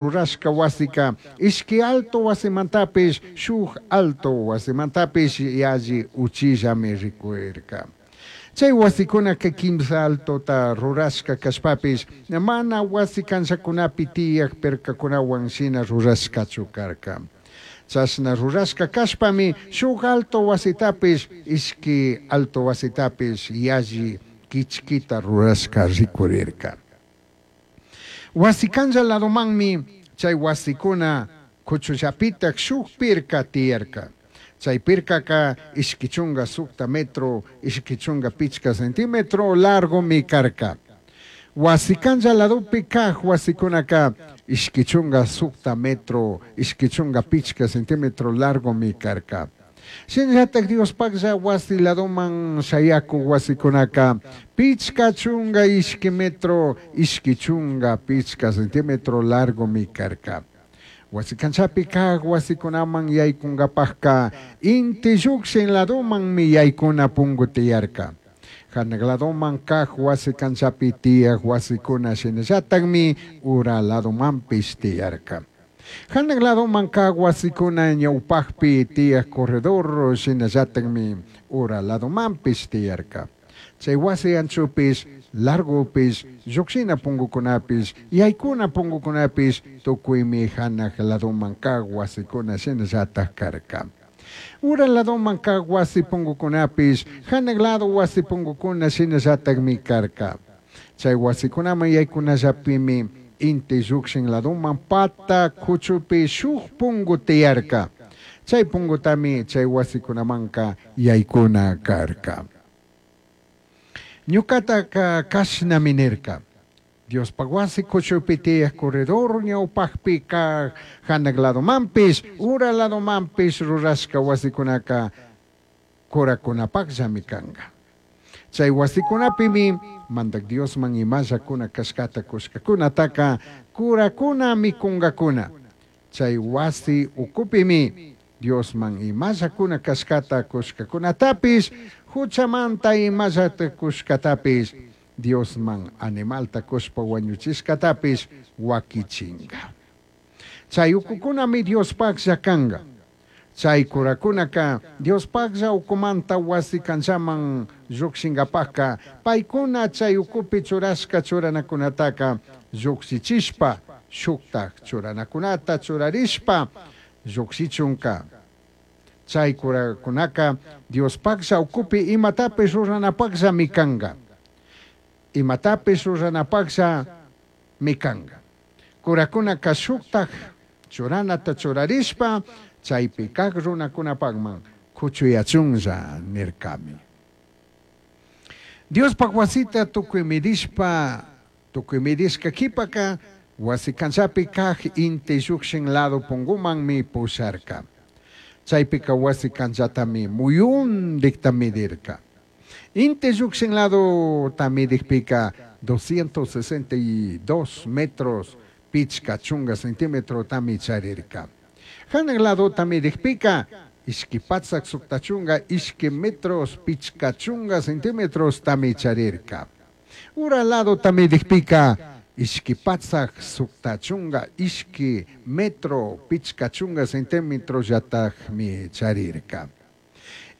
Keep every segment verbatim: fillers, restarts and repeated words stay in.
Rurashca huasica ishqui alto huasimantapish shuj alto huasimantapish yalli uchillami ricurirca. Chai huasicunaca quimsa altota rurashca cashpapish mana huasi canllacunapi tiyaj pircacunahuan shina rurashcachu carca. Chashna rurashca cashpami shuj alto huasitapish ishqui alto huasitapish yalli quichquita rurashca ricurirca. Huasi canlla ladomanmi chai huasicuna cuchullapitaj shuj pirca tiyarca. Chai pircaca ishqui chunga sucta metro, ishqui chunga pichca centímetro largomi carca. Huasi canlla ladopi caj huasicunaca ishqui chunga sucta metro, ishqui chunga pichca centímetro largomi carca. Shinallataj Diospajlla huasi ladoman shayacuj huasicunaca pichca chunga ishqui metro, ishqui chunga pichca centímetro largomi carca. Huasi canchapi caj huasicunaman yaicungapajca inti llujshin ladomanmi yaicuna pungu tiyarca. Janaj ladoman caj huasi canchapi tiyaj huasicuna shinallatajmi ura ladomanpish tiyarca. Janaj ladoman caj huasicuna ñaupajpi tiyaj corredor shinallatajmi ura ladomanpish tiyarca. Chai huasi anchopish, largopish, llujshina pungucunapish, yaicuna pungucunapish tucuimi janaj ladoman caj huasicuna shinallataj carca. Ura ladoman caj huasi pungucunapish, janaj lado huasi pungucuna shinallatajmi carca. Chai huasicunaman yaicunallapimi inti llujshin ladoman pata cuchupi shuj pungu tiyarca. Chai pungutami chai huasicunamanca yaicuna carca. Ñucataca cashnami nirca. Diospaj huasi cuchupi tiyaj corredor ñaupajpi caj janaj ladomanpish, ura ladomanpish rurashca huasicunaca curacunapajllami canga. Chai huasicunapimi Mandaj Diosman imallacuna cashcata cushcacunataca curacuna micungacuna. Chai huasi ucupimi Diosman imallacuna cashcata cushcacunatapish, juchamanta imallata cushcatapish, Diosman animalta cushpa huañuchishcatapish huaquichinga. Chai ucucunami Diospajlla canga. Chai curacunaca Diospajlla ucumanta huasi canllaman llujshingapajca paicuna chai ucupi churashca churanacunataca llujshichishpa shujtaj churanacunata churarishpa llujshichunca. Chai curacunaca Diospajlla ucupi imatapish ruranapajllami canga. Imatapish ruranapajllami canga. Curacunaca shujtaj churanata churarishpa chaipi caj runacunapajman cuchuyachunlla nircami. Diospaj huasita tucui midishpa, tucui midishca quipaca huasi canllapi caj inti llujshin lado pungumanmi pusharca. Chaipica huasi canchatami muyundijta midirca. Inti llujshin ladota midijpica doscientos sesenta y dos metros pichca chunga centímetrotami charirca. Janaj ladota midijpica ishqui patsac sucta chunga ishqui metros pichca chunga centímetros tami charirca. Ura ladota midijpica ishqui patsac sucta chunga ishqui metro pichca chunga centímetros llatajmi charirca.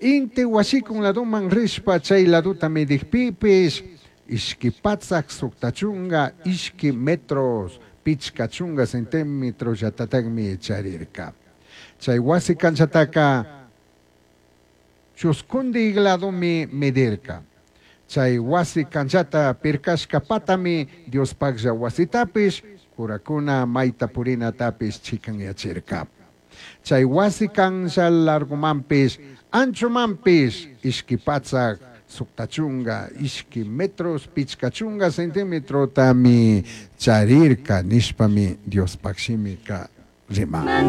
Inti huashicun ladoman rishpa chai ladota midijpipish ishqui patsac sucta chunga ishqui metros pichca chunga centímetros llatatajmi charirca. Chai huasi canchataca chuscundi ladomi medirca. Chai huasi canchata pircashca patami Diospajlla huasitapish, curacuna maita purinatapish chicanyachirca. Chai huasi cancha largomanpish, anchomanpish, ishqui patsac sucta chunga, ishqui metros, pichca chunga centímetrotami charirca nishpami Diospaj shimica riman.